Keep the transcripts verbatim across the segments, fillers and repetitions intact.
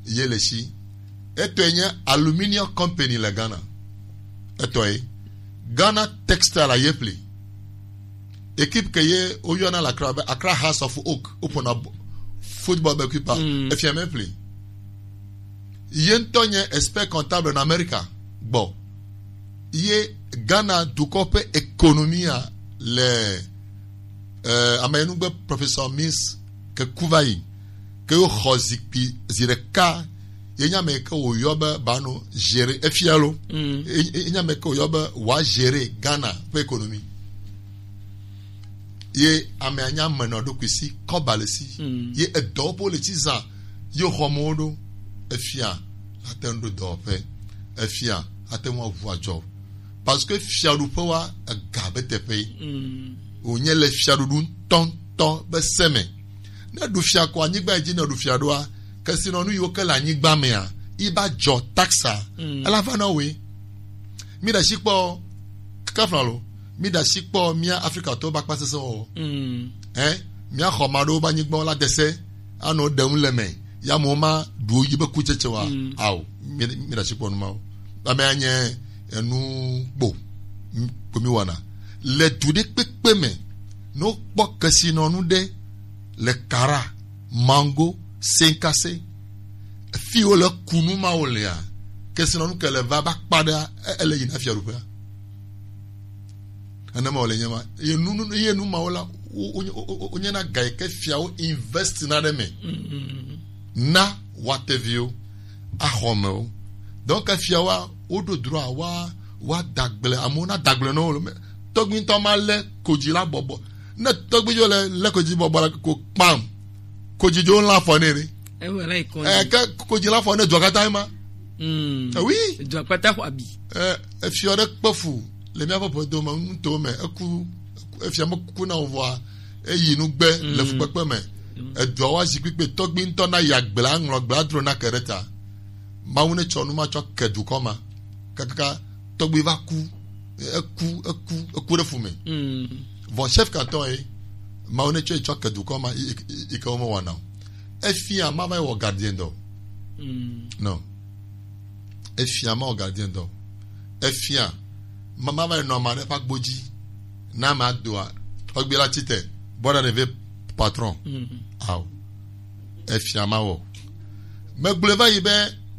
ye le si. Etɔe nye Aluminium Company le Ghana. Etɔe. Ghana Textile ye ƒli. Équipe ke ye woyɔna le Accra be Accra House of Oak. Woƒona bo- football be kuipa. Mm. Efia me ƒli. Ye ŋutɔ nye expert comptable na Amerika gbɔ. Ye Ghana dukɔ ƒe économie le, eh, ame yi nu gbe Professor Mills ke ku va yi, ke yo xɔ zikpui zi ɖeka, ye nya me ke wòyɔ be bano gérer efia lo. Mm. Ye, ye nya me ke wòyɔ be wòa gérer Ghana ƒe économie. Ye amea nya menɔ ɖokui si, kɔba le si. Mm. Ye edɔwo ƒe le tsi zã, ye xɔmewo ɖo. Efia ate ŋu ɖo dɔwɔƒe. Efia ate ŋu aʋu adzɔ. Parce que fiaɖuƒe wa ega be teƒe ye. Mm. Wònye le fiaɖuɖu ŋutɔŋutɔ be se me. Ne ɖu fia ko anyigba yi dzi ne ɖu fia ɖoa, kesinɔnu yiwo ke le anyigba mea, yi ba dzɔ taxa. Mm. Ela va na woe. Mi ɖe asi kpɔ, kafla lo. Mi ɖe asi kpɔ mía Afrikatɔwo ƒe akpasesẽwɔwɔ. Mm. Ɛ, mía xɔ ma ɖewo ƒe anyigbawo la dese, anɔ ɖem le me. Ya mo ma ɖu yi be kutsetse wa. Mm. Ao, mi mi ɖe asi kpɔ nu mawo. Ame anye enu gbo. M- Ko mi wana. Le du ɖe kpekpe me, no kpɔ kesinɔnu ɖe le Kara, Mango, Senkase. Fi wo le kunu mawo lea, kesinɔnu ke le va ba kpa ɖe e- ele yina fiaɖuƒea. Nenema wòle nye ma. Ye nu nu- ye nu mawo la, wo- wo- wo- wo- wonyena ga yi ke fiawo invest na ɖe me. Mm. Na wateviwo, axɔmewo. Donc fiawoa, woɖo droit wa wa dagble, amewo na dagble na wo. Tɔgbi ŋutɔ ma lé kodzi la bɔbɔ. Ne tɔgbi dzo le lé kodzi bɔbɔ la ko kpam, kodzi dzo la fɔ nɛ ɖe. Ewe la ikɔ. Eh, ke kodzi la fɔ ne dua katã ma. Mm. Eh, oui. Dua kpata xɔ abi. Eh, efiɔ ɖe kpe fu le míaƒe ƒedo me, nuto me, eku, eku- efia me kuku na wo vɔa, eyi nu gbe le fukpekpe me. Edua wa zikpui kpe tɔgbi ŋutɔ na ya gbla, ŋlɔ gbla dro na ke ɖe ta. Mawu ne tsɔ nu ma tsɔ ke dukɔ ma. Kakaka tɔgbi va ku, eku, eku, eku ɖe fu me. Mm. Vɔ chef canton ye, Mawu ne tsɔ yi tsɔ ke dukɔ ma, yi- yi- yi ke wo me wɔna o. Efia ma va yi wɔ gardien dɔ. Mm. Non. Efia ma wɔ gardien dɔ. Efia ma ma va yi nɔ ma ɖe ƒe agbo dzi. Na ma doa, tɔgbi la tsi te, bɔra ne ve patron. Mm. Ao. Efia ma wɔ. Megblɔe va yi be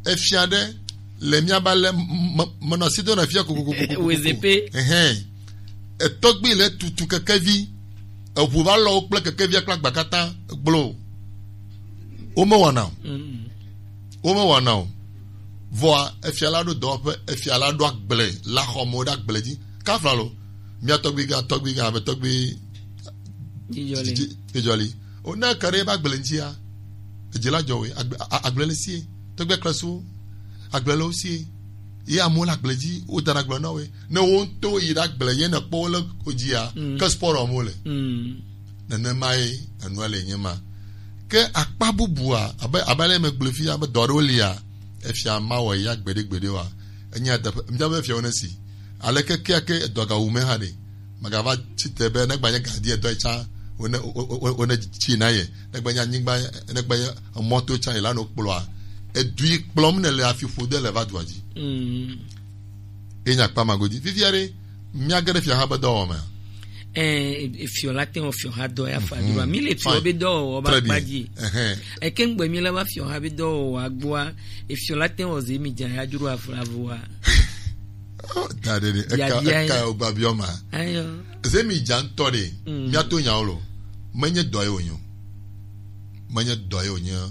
efia ɖe le mía ba le m- m- menɔ asi do na fia kokokoko. Wezepe. Ehɛn. Etɔgbi le tutu kekevi, eʋu va lɔ wo kple kekevia kple agba katã gblo. Wo me wɔna o. Mm. Wo me wɔna o. Vɔa efia la ɖo dɔwɔƒe, efia la ɖo agble la xɔ mo ɖe agble dzi. Kafla lo, mía tɔgbi gã, tɔgbi gã, ame tɔgbi Dzidzɔli. Dzi- dzi- Dzidzɔli. O ne ke ɖe ebe agble ŋutia, edzi la dzɔ we, agble, a- a- agble le sie, tɔgbe klesu, agble le wo sie. Ye amewo le agble dzi, wo dana agble na we. Ne wo ŋutɔ yi ɖe agble, ye ne kpɔ wo le ko dzia, mm, ke sport wɔm wo le. Mm. Nenema ye enua le nye ma. Ke akpa bubua, abe, abe ale megblɔe fia, be dɔ aɖewo lia, efia mawɔ ya gbeɖegbeɖe wa. Enye adeƒe, míabe fiawo ne si. Aleke kea ke edɔ gawu me hã ɖe? Magava tsi te be negba nye gadi edɔ tsã, wone, wo- wo- wo- wone tsi na ye. Negba nye anyigba, negba nye emɔto tsã ye la no kplɔa. Edui kplɔm ne le afi ƒode le va dua dzi. Mm. Ye nya kpa ma godi. Fifia ɖe, míage ɖe fiaha be dɔwɔwɔ mea? Eh, e- e- fiɔ la te wɔ fiɔha dɔ ya fa. Mhm. Dua. Mi le fiɔ, fine, be dɔwɔwɔ ba, très bien, kpa dzi. Ehɛn. Eke ŋgbe mi la ba fiɔha be dɔwɔwɔ agboa, e fiɔ la te wɔ ze mi dza ya dzro aflavoa. Oh, da ɖe ɖe, eka, biabia eka ye. O ba biɔ ma. Ayo. Ze mi dza ŋutɔ ɖe, mm, míato nyawo lo. Menye dɔ ye wònyo. Menye dɔ ye wònye.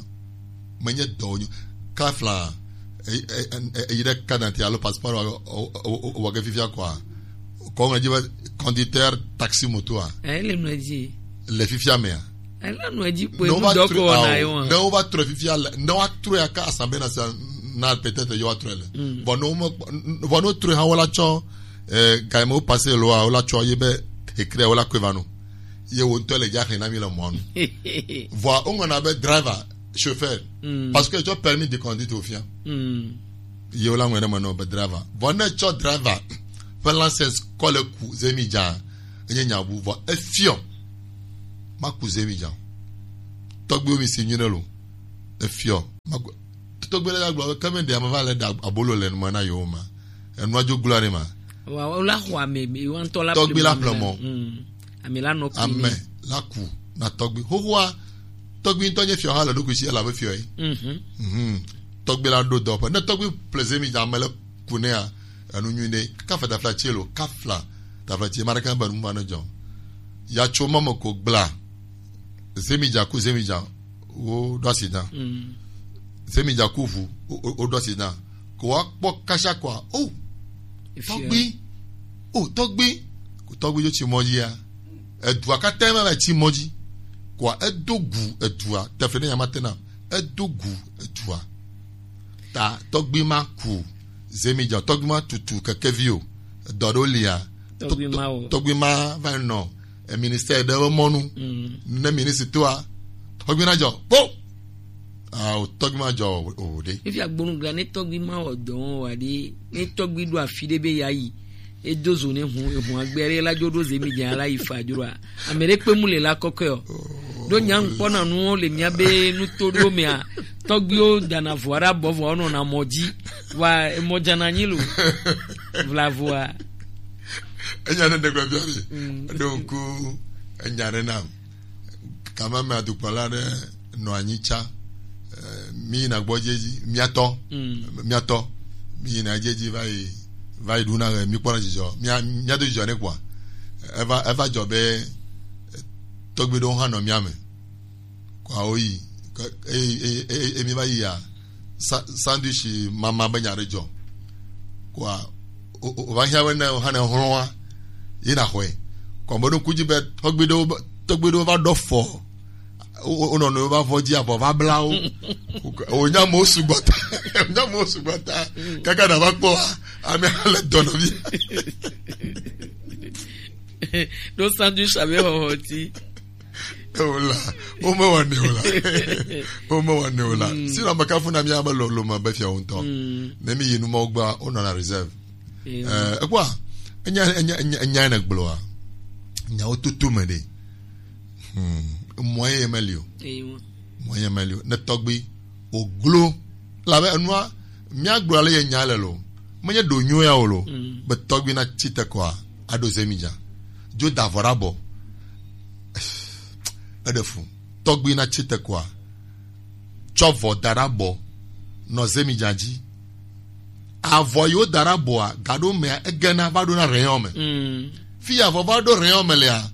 Menye dɔ wònyo. Kafla, e- e- e- eyi ɖe carte d'identité alo passeport wa- o- o- o- wɔ ge fifia kɔa. Kɔ ŋlɔ dzi be conducteur taxi moto a. Ele nɔ dzi. Le fifia mea. Ele nɔ dzi kpɔe. Ne wova dɔ trɔ kɔ na ao, ye wa. Ne wova trɔ fifia le, ne woatrɔ ya ka Assemblée nationale peut-être yewoatrɔ le. Mm. Vɔ ne wome- vɔ ne wotrɔ hã wola tsɔ, eh, gaime wo passé loa, wola tsɔ ye be écrit wola kɔe va no. Ye wo ŋutɔ le dza xlẽ na mi le mɔa nu. Vɔa woŋlɔna be driver, chauffeur. Mm. Parce que etsɔ permis de conduite wòfia. Mm. Ye wola ŋlɔe ɖe me nɔ be driver. Vɔ ne etsɔ driver ƒe license kɔ le ku zemi dza, enye nya bu vɔ efiɔ. Ma ku zemi dza. Tɔgbuiwo mi si nyuie ɖe lo. Efiɔ. Ma ku Tɔgbi la gblɔ ke me ɖe ame va le ɖa abolo le nume na yewo ma. Enua dzo gblɔ ne ma. Wa o la xɔ ame mi wa ŋutɔ la Tɔgbi la ƒle mɔ. Mm. Ame la nɔ kpi. Ame la ku na tɔgbi. Xoxoa tɔgbi ŋutɔ nye fiɔ ha le ɖokui si elabe fiɔ ye. Mhm. Mhm. Tɔgbi la ɖo dɔƒe. Ne tɔgbi ƒle zemi dza ame le ku nea enu nyui ne. Kafa tafla tse lo, kafla tafla tse ma ɖeka be nu ma ne dzɔ. Ya tso mɔ me ko gbla. Zemi dza ku zemi dza. Wo ɖo asi dã. Mm. Zemi dza ku ʋu, wo, wo, wo ɖo asi dã. Ko wa kpɔ kasha koa, o, Efia. Tɔgbi, o, tɔgbi, ko tɔgbi dzo tsi mɔ dzia. Edua katã ma va tsi mɔ dzi. Koa edo gu edua, teƒe ne ya ma te na, edo gu edua. Ta tɔgbi ma ku zemi dza, tɔgbi ma tutu kekevi o. Edɔ ɖo lia. Tɔgbi ma o. Tɔgbi ma va nɔ e ministère ɖe be mɔnu. Mm. Ne ministre toa, tɔgbi na dzɔ. Po! Ah, o tɔgbi ma dzɔ o, o ɖe. Efi agbonu gla ne tɔgbi ma wɔ dɔ wa ɖi, ne tɔgbi ɖo afi ɖe be ya yi. Edo zo ne hun, ehun agbe ɖe la dzo ɖo zemi dze la yi fa dzro a. Ame ɖe kpe mu le la kɔkɔe o. Ɖo nya ŋkpɔ na nuwo le mia be nuto ɖo mea. Tɔgbiwo dana vɔ ɖe abɔ vɔ nɔ na mɔ dzi. Wa emɔ dzana nyi lo. Vla vɔa. Enya ne ɖe gbe bia mi. Mm. Eɖo ŋku enya ɖe nam. Kama me adukplɔla ɖe nɔ anyi tsa. Eh, mi yina gbɔ dzi edzi, miatɔ. Mm. Miatɔ. Mi yina dzi edzi va yi, va yi ɖuna ɣe, mi kpɔna dzidzɔ. Mia, mia do dzidzɔ ne kpɔa. Eva, eva dzɔ be, eh, tɔgbi ɖewo hã nɔ mia me. Kɔa wo yi, ke, e, e, e, e, e, mi va yi ya. Sa-, sandwich mama be nya ɖe dzɔ. Kɔa, o, o, o va hiã be ne o hã ne hlɔ̃a, yi na xɔe. Kɔ me ɖo ŋku dzi be tɔgbi ɖewo be, tɔgbi ɖewo va ɖɔ fɔ. O, o, o nɔ nɔewo va vɔ dzi avɔ va bla wo. O, o nya mo sugbɔ ta, o nya mo sugbɔ ta. Kaka na va kpɔ wa, ame hã le dɔ nɔ vi. Ɖo sandwich abe xɔxɔ ti. Ewo la, wo me wa ne o la. Wo me wa ne o la. Mm. Si na maka funa mi aba lo, lo ma be fia wo ŋutɔ. Mm. Ne mi yi nu ma wo gba, o nɔ na reserve. Ewo. Eh, ekpɔa, enya, enya, enya, enya ne gblɔa. Nya wo tutu me ɖe. Hmm. Mɔ ye me li o. Ewo. Mɔ ye me li o. Ne tɔgbi, o glo. Labe enua, mia gblɔ ale ye nya le lo. Menye ɖo nyo ya o lo. Mm. Be tɔgbi na tsi te kɔa, aɖo zemi dza. Dzo da vɔ ɖe abɔ. Eɖe fu. Tɔgbi na tsi te kɔa, tsɔ vɔ da ɖe abɔ, nɔ zemi dza dzi. Avɔ yiwo da ɖe abɔa, gaɖo mea, egena va ɖo na rayon me. Mm. Fi ya avɔ va ɖo rayon me lea,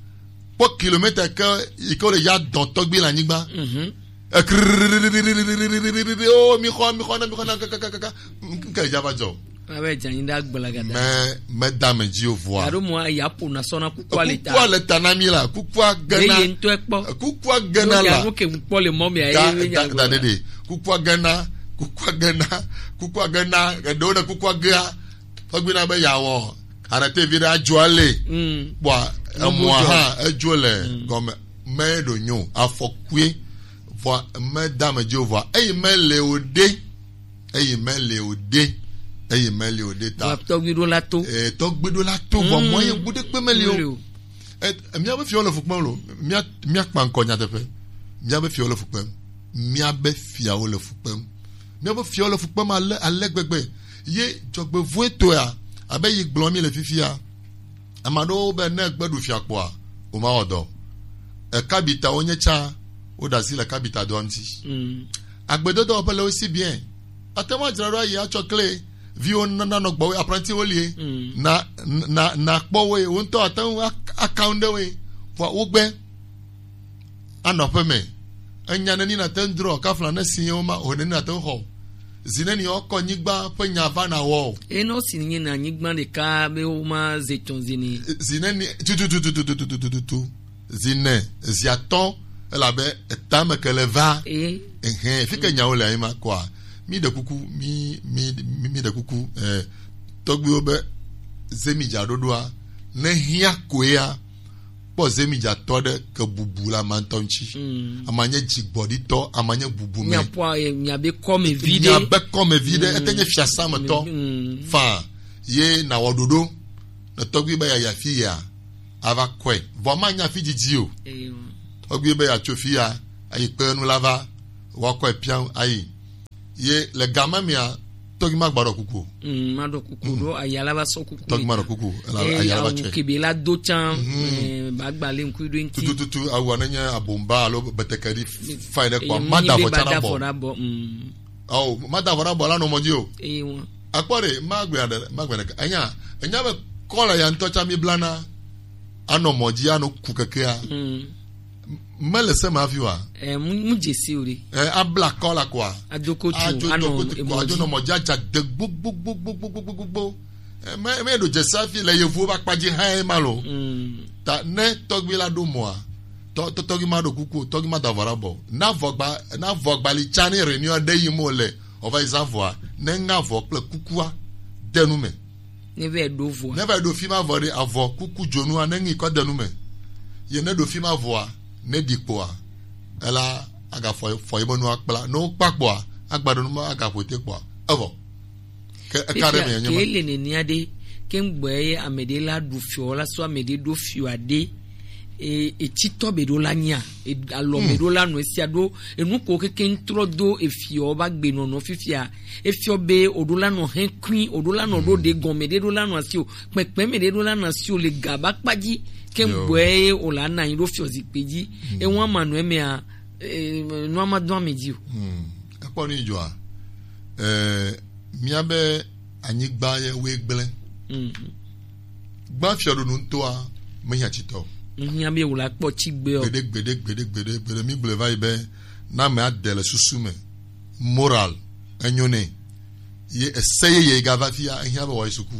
kpɔ kilomètre ke yi ke wo le ya dɔn tɔgbi le anyigba. Mhm. Ekiriri, o, mi xɔ, mi xɔ na, mi xɔ na, kakakaka. Nke dza va dzɔ. Abe dza nyi ɖe agblagada. Me, me da me dzi o vɔa. Alo mo ya ƒo na sɔ na kukua le ta. Kukua le ta na mi la, kukua gena. Eye ŋutɔ kpɔ. Kukua gena la. Ŋu ke ŋkpɔ le mɔ mea, da, ye da, nya da, gblɔ. Dede. Kukua gena, kukua gena, kukua gena, eɖewo ne kukua gea. Tɔgbi na be ya wɔ. Arrêté vi ɖe adzo ale. Mm. Bua, emɔa hã, edzo le gɔme. Me ɖo nyo, afɔkue. Vɔa, me da me dzi o vɔa. Eyi me le o ɖe. Eyi meli o ɖe. Eyi meli o ɖe ta. Vɔ tɔgbi ɖo la to. Eh, tɔgbi ɖo la to, vɔ mɔ ye bu ɖe kpe meli o. Meli o. Eh, mía be fiawo le fu kpem lo. Mía, mía kpa ŋkɔ nyateƒe. Mía be fiawo le fu kpem. Mía be fiawo le fu kpem. Mía be fiawo le fu kpem ale, ale gbegbe. Ye dzɔgbevɔ̃e tɔa, abe yi gblɔ mi le fifia. Ame aɖewo be ne egbe ɖu fia kpɔa, womawɔ dɔ. Ekabitawo nye tsã, woɖe asi le kabita dɔa ŋuti. Mm. Agbedodoaƒe le aussi bien. Ate ŋu adzra ɖo ayi atsɔ kle, viwo na, nanɔ gbɔwò, apprenti wo lie. Mm. Na, na, na kpɔ wo ye, wo ŋutɔ ate ŋu ak-, account ɖe wo ye. Vɔa wogbe. Anɔ aƒe me. Enya neni nate ŋu drɔ, kafla ne si yewo ma, o neni nate ŋu xɔ. Zi neni wokɔ nyigba ƒe nya va na wɔ o. Enɔ si nye na nyigba ɖeka be woma ze tɔn zi ni. Zi neni, tututututututututu. Zi ne, zi atɔ̃, elabe etame ke le va. Ee. Ehe, fi ke nyawo le ayi ma kɔa, mi ɖe kuku, mi, mi, mi, mi ɖe kuku, eh, tɔgbuiwo be, zemi dza ɖoɖoa, ne hiã koea, kpɔ zemidzatɔ ɖe ke bubu le ama ŋutɔ ŋuti. Mm. Ama nye dzigbɔɖitɔ, ama nye bubu me. Miaƒe, eh, miabe kɔmevi ɖe. Miabe kɔmevi ɖe, mm, ete nye fiasã me tɔ. Mm. Fa, ye nawɔ ɖoɖo, ne tɔgbi be yeayi afi yea, ava kɔe. Vɔ manya afi didi o. Eyo. Tɔgbi be yeatso fi ya, ayi kpe nu la va, woakɔe piam ayi. Ye le game mea, tɔgbi ma gba ɖɔ kuku o. Mm, ma ɖɔ kuku, mm, ɖo aya la va sɔ kuku. Tɔgbi ma ɖɔ kuku, ela, eh, aya la va awu tsɔe. Kebe la do tsan, mhm, eh, ba gba le ŋku ɖo ŋti. Tutututu, awu ne nye abomba alo betekedi, fine ɖe kpɔ, eh, ma da mi be avɔ tsa na bɔ. Mm. Awo, ma da avɔ na bɔ la nɔ mɔ dzi o. Eh, wa. Akpɔ ɖe, ma gbe aɖe, ma gbe ɖe. Enya, enya be kɔla ya ŋutɔ tsa mi blana, anɔ mɔ dzi, anɔ ku kekea. Mm. Mele se ma fi wa. Eh, mu, mu dze si o ɖe. Eh, abla kɔla kɔa. Adoko tu, adzo anɔ do kote emo kɔa, adzo dzi. Nɔ mɔ dzi adza de gbogbogbogbogbogbogbogbo. Eh, me, me ɖo dze si afi le yevuwo ba kpa dzi hã ye ma lo. Mm. Ta ne tɔgbi la ɖo mɔa, tɔ, tɔ, tɔgbi ma ɖo kuku, tɔgbi ma da avɔ la bɔ. Na avɔ gba, na avɔ gba li tsa ne réunion ɖe yi mo le, o va yi za avɔa, ne ŋa avɔ kple kukua de nu me. Ne va yi ɖo vɔa. Ne va yi ɖo fi ma vɔ ɖe avɔ kuku dzonua ne ŋi kɔ de nu me. Ye ne ɖo fi ma vɔa, ne ɖi kpoa, ela agafɔ, fɔ yi be nua kpla. Ne wo kpa kpoa, agba ɖe nu ma agaƒo te kpoa. Evɔ. Ke eka ɖe me nye ma. Ke le nenia ɖe, ke ŋgbɔ ye ame ɖe la ɖu fiɔ la so ame ɖe ɖo fiɔ aɖe. E, etitɔ be ɖo la nya, e, alɔ be, hmm, ɖo la nɔ esia ɖo, enu ko keke ŋtrɔ do efiɔ ba gbe nɔnɔ fifia. Efiɔ be o ɖo la nɔ hɛn kui, o ɖo la nɔ ɖo, hmm, ɖe gɔme ɖe ɖo la nɔ asi o, kpɛkpɛ me ɖe ɖo la nɔ asi o le ga ba kpa dzi, ke, yo, ŋgbɔe o la na anyi ɖo fiɔ zikpe dzi. Hmm. Ewa ma nɔ emea, e, nua ma do ame dzi o. Hmm. Ekpɔ nu yi dzɔa? Eh, míabe anyigba ye woe gblẽ. Mhm. Gbã fiɔɖonu ŋutɔa mehiã tsitɔ. Mehiã be wòle akpɔ tsi gbe ɔ. Gbeɖe, gbeɖe, gbeɖe, gbeɖe, gbeɖe. Mi gblɔe va yi be, na ame ade le susu me. Moral, enyo nɛ. Ye ese yeye gava fia, ehiã be wòayi suku.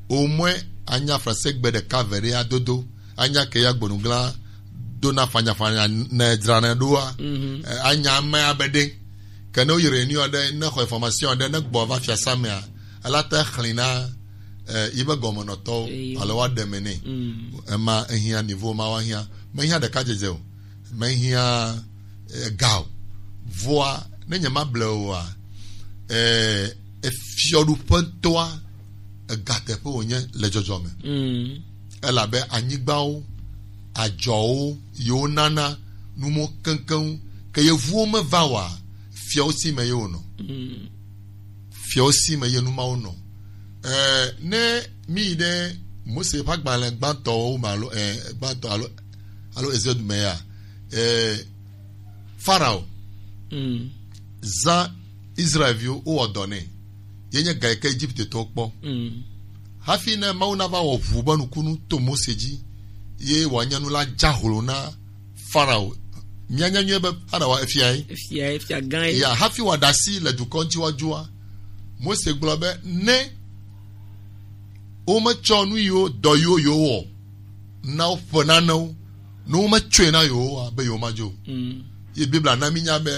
Au moins, anya français gbe ɖeka ve ɖe adodo. Anya ke ya gbonugla do na fanyafanya ne dzrana ɖoa. Mhm. Eh, anya ame abe ɖe. Ke ne woyi réunion aɖe, ne xɔ information aɖe, ne gbɔ va fiasa mea, ela te xlẽ na, eh, yi be gɔmenɔtɔwo, eyo, alo woaɖe me nɛ. Mm. Ema ehiã niveau ma woahiã. Mehiã ɖeka dzedze o. Mehiã, eh, ga o. Vɔa, ne nye ma ble oa, eh, efiɔɖuƒe ŋutɔa, egateƒe wònye le dzɔdzɔme. Mm. Elabe anyigbawo, adzɔwo, yewo nana numo keŋkeŋ, ke yevuwo meva oa, fiawo si me ye wonɔ. Mm. Fiawo si me ye nu mawo nɔ. Eh, ne mi yi ɖe Mose ƒe agbalẽ gbãtɔwo me alo, eh, gbãtɔ alo, alo Exode me ya, eh, Farao, mm, zã Israelviwo wowɔ dɔ nɛ. Ye nye ga yi ke Egiptetɔwo kpɔ. Mm. Hafi ne Mawu nava wɔ ʋu be nukunu to Mose dzi, ye wòanye nu la dza hlo na Farao. Míanya nyuie be Farao efia ye. Efia ye, fia gã ye. Ya, hafi wòaɖe asi le dukɔ ŋuti woadzɔa, Mose gblɔ be ne wometsɔ nu yiwo, dɔ yiwo yewowɔ na woƒe nanewo, ne wometsɔe na yewoa, be yewomadzo o. Mm. Ye Biblia na mínya be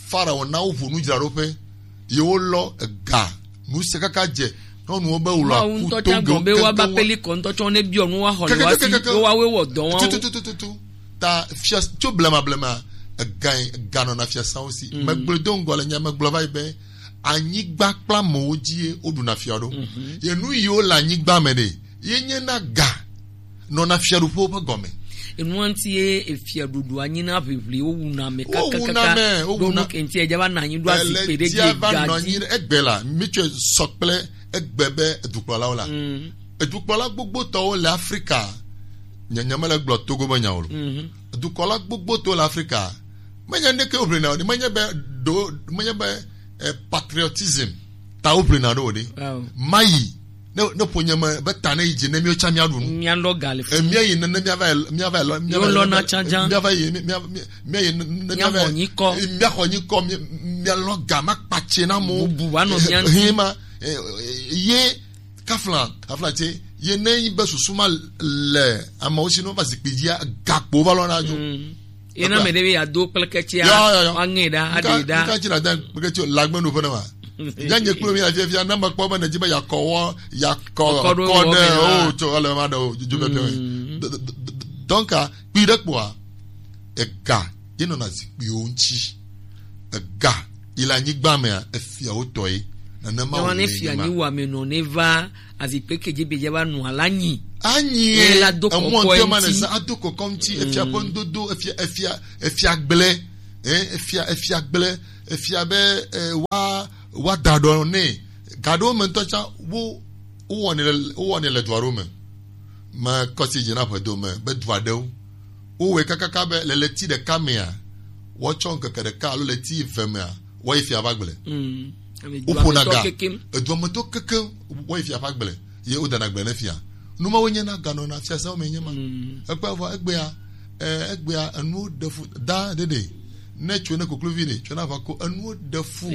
Farao na woʋu nudzraɖoƒe, yewolɔ ega, nu sia kaka dze nyɔnuwo be wòlɔ aku ŋutɔ tsã toŋgbe gɔ̃ be woava kekeŋ. Peli kɔ ŋutɔ tsɔ ne biɔ nu woaxɔ le woasi, kekeŋ, kekeŋ, wo woawoe wɔ dɔ woawo. Tutututu. Ta fia tso blemablema, ega, ega nɔna fiasawo si. Mm. Megblɔe do ŋgɔ le nya, megblɔ va yi be, anyigba kple amewo dzi ye woɖuna fia ɖo. Mhm. Ye nu yiwo le anyigba me ɖe, ye nye na ga nɔna fiaɖuƒewo ƒe gɔme. Enua ŋuti ye efiaɖuɖua nyina ʋiʋli, wowuna ame kakakaka. Wowuna ame, ɖo wowuna nu ke ŋuti edze va nɔ anyi ɖo azikpui ɖe dzi, ega dzi. Egbe la, mitsɔe sɔ kple egbe be edukplɔlawo la. Mm. Edukplɔla gbogbotɔwo le Afrika, nye, nye mele gblɔ Togo be nya o lo. Mhm. Edukplɔla gbogbotɔwo le Afrika, menye neke woʋlina o, menye be ɖo, menye be, eh, patriotism ta woʋlina ɖo o ɖe. Wow. Mayi, ne, ne ƒo nye me be ta ne yi dzi ne míwo tsã míaɖu nu. Míalɔ ga le fi. Eh, míayi ne, ne míava yi, míava yi lɔ, míava yi lɔ, míava yi, mía, mía, míayi ne, ne míava yi. Míaxɔ nyikɔ. Eh, míaxɔ nyikɔ, mía, míalɔ ga ma kpatse na mo. Bubu va nɔ mía ŋuti. Eh, eh, ma, eh, eh, ye Kafla, kafla tse, ye ne nyi be susu ma le amewo si, ne wova zikpui dzia, gakpo va lɔna dzo. Mm. Ye na ame ɖe be yeado kpleketsia, ya, ya, ya, woaŋe ɖa, aɖe ɖa. Ŋka dzi na da kpleketsi o, lagbe no ƒe ne ma. Ya nye kplo mi la fiafia, ne mekpɔ be nèdzi be yakɔ wɔ, yakɔ kɔ ɖe o, tso ele ma ɖe o, dzo be pɛ. Mm. D-, d-, d-, d-, donc, kpui ɖe kpoa, ega ye nɔna zikpuiwo ŋuti. Ega yi le anyigba mea, efiawo tɔ ye. Nenema wòle ne fia nyi wa me nɔ ne va azikpe ke dzi be dze va nɔ ala nyi. Anyi ye la do kɔkɔ ŋuti. Ado kɔkɔ ŋuti, efia ƒe ŋdodo, efia, efia, efia gblẽ, eh, efia, efia gblẽ, efia be, eh, wa wa da ɖɔ ne ga ɖewo me ŋutɔ tsã wo wowɔnɛ le wowɔnɛ le dua ɖewo me. Me kɔsi dzi na ƒedo me be dua ɖewo wowɔe kakaka be le ɣleti ɖeka mea woatsɔ ŋkeke ɖeka alo ɣleti eve mea woayi fia ƒe agble. Woƒona ga eduametɔ kekem woayi fia ƒe agble ye wodana gble ne fia. Nu mawo nye na ganɔna fiasãwo me nye ma. Ekpea vɔ egbea eh, egbea enuwo ɖe fu da ɖeɖe ne tso ne koklovi ɖe tso na va ko enuwo ɖe fu.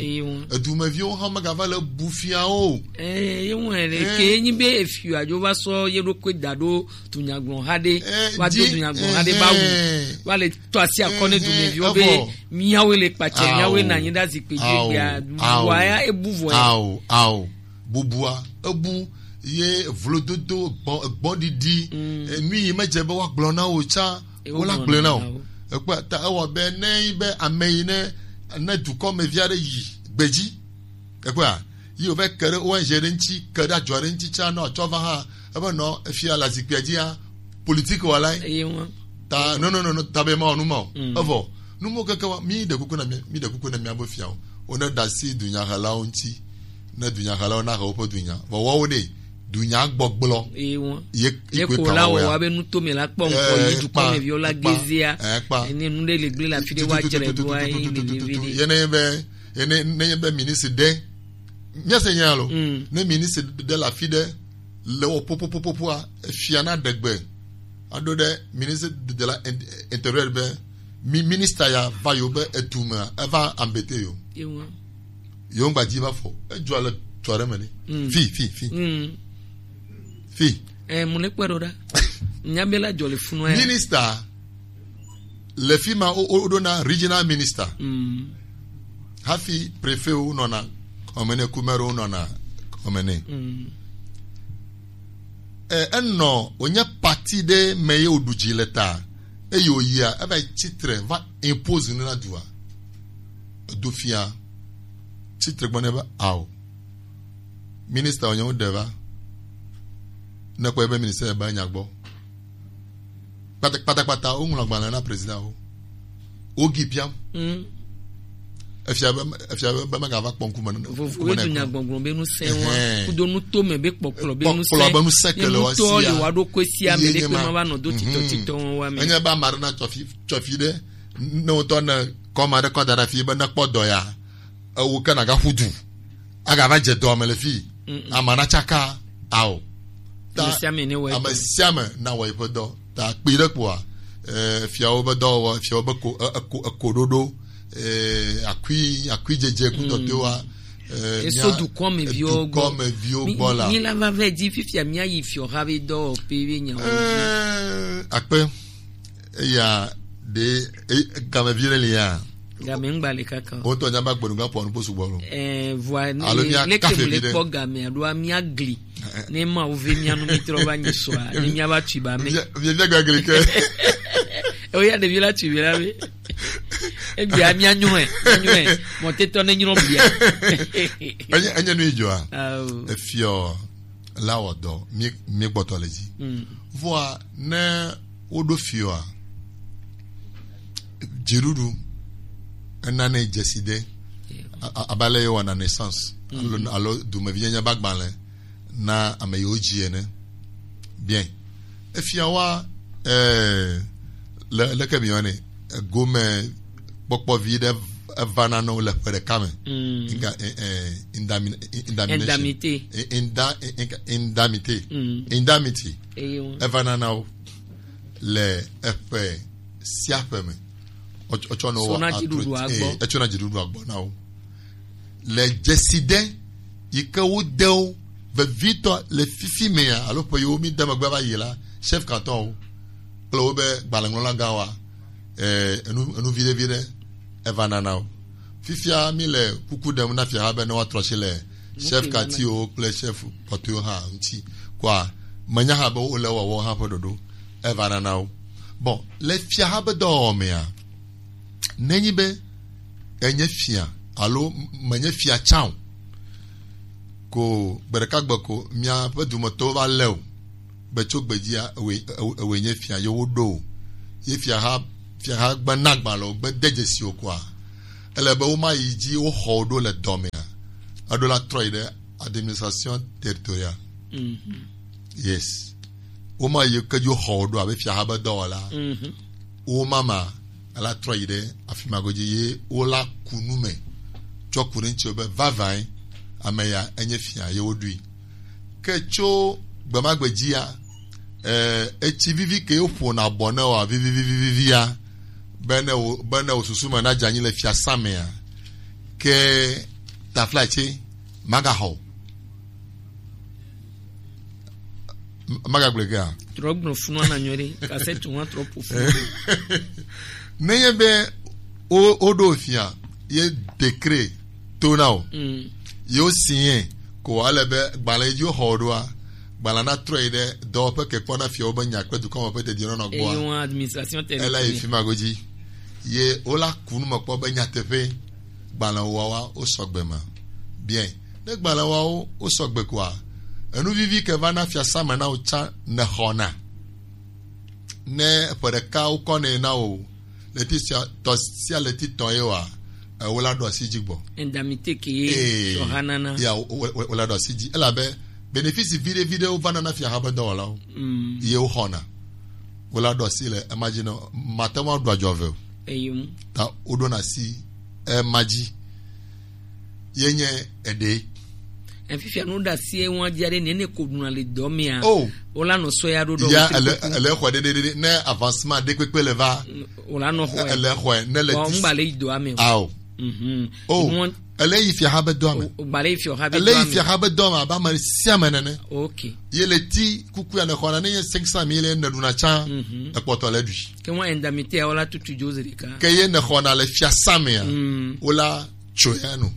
Edumeviwo hã megava le bu fia o. Ye wɔe ɖe ke nyi be efia dzo va sɔ ye ɖokui da ɖo dunyagblɔ ha ɖe va do dunyagblɔ ha ɖe ba wu va le tɔ asi akɔ ne dumeviwo be miawoe le kpatse miawoe na nyi ɖe azikpui dzi gbea vɔa ya ebu vɔ ya. Ao ao bubua ebu ye vlododo gbɔn gbɔn ɖiɖi enu yi medze be woagblɔ na wo tsã wola gblɔe na o. Ekpɔ ta ewɔ be ne yi be ame yi ne ne dukɔ me vi aɖe yi gbedzi ekpɔa yi wòva ke ɖe O N G ɖe ŋuti ke ɖe adzɔ ɖe ŋuti tsã ne wòatsɔ va hã ebe nɔ efia le azikpuia dzia politique wɔlae. Ta no no no no ta be ma wɔ nu ma o evɔ nu mo keke wa mi ɖe kuku na mi mi ɖe kuku na mia be fiawo wo ne da si dunyahelawo ŋuti ne dunyahelawo na he woƒe dunya vɔ wɔwo ɖe dunya gbɔgblɔ ye ye ko la wɔ wa be nuto me la kpɔ ŋkɔ yi dukɔ me viwo la gezia ene nu ɖe le gble la fi ɖe wa dzre ɖo ayi le le vi ɖe ye ne be ye ne ne be ministre ɖe míase nya lo ne ministre ɖe le afi ɖe le wɔ popopopopoa efia na ɖegbe aɖo ɖe ministre de la intérieur be mi ministre ya va yo be etu me eva embêter yo yo ŋgba dzi va fɔ edzɔ le tsɔ ɖe me ni fi fi fi fi eh mo le kpɛ ɖo ɖa nya be la dzɔ le funu ya ministre le fi ma woɖona regional minister hafi préfet wo nɔna kɔmene kumero wo nɔna kɔmene enɔ wònye parti ɖe me ye wòɖu dzi le ta eye wòyia eva yi titre va impose nu na dua edo fia titre gbɔ ne be ao minister wònye wo ɖe va ne kpɔ ebe minister be nya gbɔ kpatakpata woŋlɔ agbalẽ na président wo wogi biam efia be efia be be megava kpɔ ŋkume vovovoe dunya gbɔgblɔ be nu sɛ wa kudo nu to me be kpɔkplɔ be nu sɛ kpɔkplɔ be nu sɛ kele wa sia ye wa ɖo ko sia me ɖe kpe ma va nɔ do titɔ titɔ wa me enye be ame aɖe na tsɔfi tsɔfi ɖe ne wotɔ ne kɔma ɖe kɔ da ɖe afi be ne kpɔ dɔ ya ewo ke na ga ƒu du aga va dze dɔ me le fi ama na tsaka ao ta ame sia ame na wɔ eƒe dɔ ta kpi ɖe kpoa eh, fiawo be dɔwɔwɔ fiawo be ko eh, eko eko ɖoɖo eh, akui akui dzedze kudɔtewa eh, eso dukɔ me viwo gbɔ dukɔ me viwo gbɔ la mi la va vɛ di fifia mi ayi fiɔ ha be dɔwɔƒe be nyawo eh, akpe eya ɖe e- game vi ɖe li ya game ŋgba le kaka o wotɔ nya ba gbɔnu ga pɔ nu kpo sugbɔ lo eh voa ne alo mia leke kafe mu le vi ɖe kpɔ game alo mia gli ne ma wo ve mia nu mi trɔ va nyi sɔa ne mia va tui ba me vie vie gagli ke o ya ɖevi la tui be la be egbea mia nyɔe mia nyɔe mɔtetɔ ne nyrɔ bia enye enye nu yi dzɔa awo efiɔ la wɔ dɔ mi mi gbɔtɔ le dzi vɔa ne woɖo fiɔa dziɖuɖu enane dzesi ɖe a- a- abe ale ye wɔna naissance alo alo dumevinyanya be agbalẽ na ame yiwo dzi ene bien efia wa eh, le leke mi yɔnɛ egome kpɔkpɔ vi ɖe evana na wo le ƒe ɖeka me Inga- eh, eh, indami- eh, indamination. Indemnité. Eh, inda- eh, inga- indemnité Mm. Indemnité Eye ŋu. Evana na wo le eƒe sia ƒe me Etsɔ- etsɔ na wo Sɔna wɔ dziɖuɖua atro- gbɔ. Eh, etsɔna dziɖuɖua gbɔ na wo le dzesi ɖe yi ke wode wo vevitɔ le fifi mea alo ƒe yiwo mi de megbe va yi la chef canton wo kple wobe gbalẽŋlɔla gã wa eh, enu enu viɖe viɖe eva nana wo fifia mi le kuku ɖem na fiaha be ne woatrɔ asi le chef katiwo kple chef kpɔtɔewo hã ŋuti kɔa menya hã be wole wɔwɔ hã ƒe ɖoɖo eva nana wo bon le fiaha be dɔwɔwɔ mea nenyi be enye fia alo menye fia tsã o ko gbe ɖeka gbe ko miaƒe dumetɔwo va lé o be tso gbedzia ewoe ewoe nye fia yewo ɖo o ye fiaha fiaha gbe na agbalẽ o gbe de dzesi o koa ele be woma yi dzi woxɔ wo ɖo le dɔmea Eɖo la trɔ yi ɖe administration territoriale. Yes. Woma yi ke dzo xɔ wo ɖo abe fiaha be dɔwɔla. Woma ma ela trɔ yi ɖe afi ma godzi ye wola ku nu me tsɔ ku ɖe ŋuti be vavãe ame ya enye fia ye woɖui. Ke tso gbemagbe dzia, eh, etsi vivi ke woƒona bɔ ne wa vivivivivia, be ne wo be ne wo susu me na dze anyi le fiasã mea, ke taflatse magaxɔ o. M- Magagblɔ gea? Trɔ gblɔ funua na nyɔ ɖe, kasɛti wa trɔ ƒo fu. Nenye be wo woɖo fia ye décret to na o. Mm. Yewo signé ko ale be gbalẽ yi dzi woxɔ wo ɖoa, gbalẽ na trɔ yi ɖe dɔwɔƒe ke kpɔna fiawo be nya kple dukɔ me ƒe dedienɔnɔ gbɔa. Eye wọn administration territoriale. Ela yi fi ma godzi. Ye wola ku nu me kpɔ be nyateƒe gbalẽ woawa wo sɔgbe ma. Bien. Ne gbalẽ woawo wo sɔgbe koa, enu vivi ke va na fiasã me na wo tsã ne xɔna. Ne ƒe ɖeka wokɔ nɛ na wò, ɣleti sia tɔ sia ɣleti tɔ ye wa, eh, wola ɖo asi dzi gbɔ. Indemnité ke ye. Ee, fiɔha nana. Ya wo- wo- wo- wola ɖo asi dzi elabe bénéfice viɖe viɖewo va nana fiaha be dɔwɔlawo. Mm. Ye woxɔna. Wola ɖo asi le ema dzi nɔ mate ŋu aɖu adzɔ ve o. Eyim. Ta woɖona asi ema dzi. Ye nye eɖe. Efifia nu ɖe asi ewa dzi aɖe nene ko ɖuna le dɔ mea. Oh. Wola nɔ sɔ ya ɖo ɖɔ. Ya ele ele xɔ ɖeɖeɖe ne avancement ɖe kpekpe le va. Wola nɔ xɔ. Ele xɔ ne le. Bon, ti ngba le yi dɔa me o. Ao. Mhm. Oh. Ele yi fiaha be dɔa me. Ngba le yi fiaha be dɔa me. Ele yi fiaha be dɔa me abe ame sia ame nene. Okay. Ye le ti kuku ya ne xɔna ne nye cinq cent mille ne ɖuna tsã. Mhm. Ekpɔtɔ le ɖui. Ke ŋua indemnité ya wola tutu dzozi ɖeka. Ke ye ne xɔna le fiasã mea. Mm. Wola tso ya no.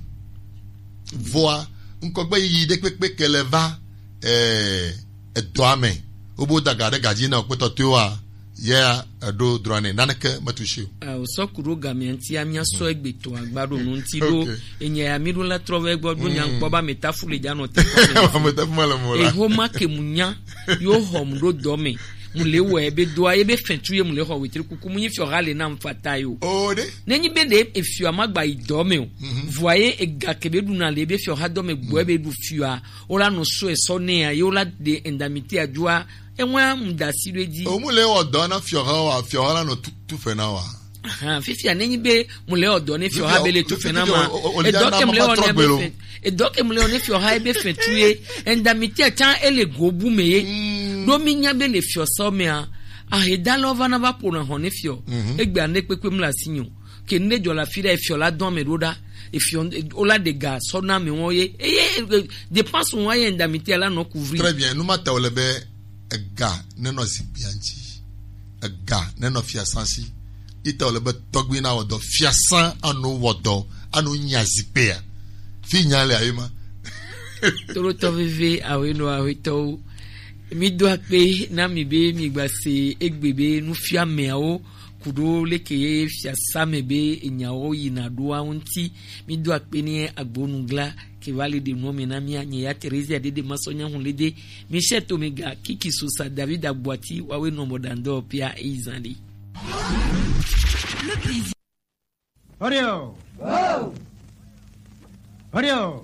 Vɔa ŋkɔgbe yiyi ɖe kpekpe ke le va, eh, edɔa me. Wobe woda ga ɖe gadzi na wokpetɔ toewoa, ya eɖo drɔ̃ nɛ. Naneke metu si o. Eh, wòsɔ ku ɖo gamea ŋutia, míasɔ egbe tɔ agba ɖo nu ŋuti ɖo. Okay. Enya ya mí ɖo la trɔ va egbɔ ɖo nya ŋkpɔ ba metafu le dza nɔ te kɔ me. Metafu ma le mo la. Eho ma ke mu nya, yo hɔ mu ɖo dɔ me. Mu le wɔ ebe doa, ebe fɛtu ye mu le xɔ wetri kuku, mu nyi fiɔ ha le na mu fata yo. O ɖe. Ne nyi be ɖe efiɔ ma gba yi dɔ me o. Mhm. Vɔa ye ega ke be ɖuna le ebe fiɔ ha dɔ me gbɔ ebe ɖu fiɔa, wola nɔ sɔ esɔ nɛ ya, ye wola de indemnité a dzoa, ewa mu da si ɖo edzi. O mu le wɔ dɔ na fiɔ ha wa, fiɔ ha la nɔ tu, tu fe na wa. Ahan, fifia ne nyi be mu le wɔ dɔ ne fiɔ ha be le tu fe na ma. Edɔ ke mu le wɔ ne be fɛ. Edɔ ke mu le wɔ ne fiɔ ha ebe fɛ tu ye. Indemnité tsã ele go bu me ye. Mm. Ɖo mi nya be le fiɔ sɔ mea, ahedalɔ va na va ƒona hɔ ne fiɔ. Mhm. Egbe ane kpekpe mu le asi nyo. Ke ne dzɔ la fi ɖe efiɔ la dɔn me ɖo ɖa. Efiɔ, wola de ga sɔ na me wɔ ye. Eye, eh, dépense wa ye indemnité la nɔ couvrir. Très bien, nu ma ta wo le be ega nenɔ zikpuia ŋuti, ega nenɔ fiasã si. Ita wòle be tɔgbi na wɔ dɔ, fiasã anu wɔ dɔ, anu nya zikpea. Fi nya le ayi ma. Torotɔ veve awe nɔ awe tɔwo. Mi do akpe na mi be mi gba se egbe be nufia meawo kuɖo leke ye fiasã me be enyawo yina ɖoa ŋuti. Mi do akpe ni agbonugla ke va le ɖe nuɔ me na mía, nye ya Theresia Dede Masɔ Nyahun Lede, Michel Tomega, Kiki Sosa, David Agbuati, wawe nɔ mɔ dandɔ pia eyi zan ɖe. Orio. Orio.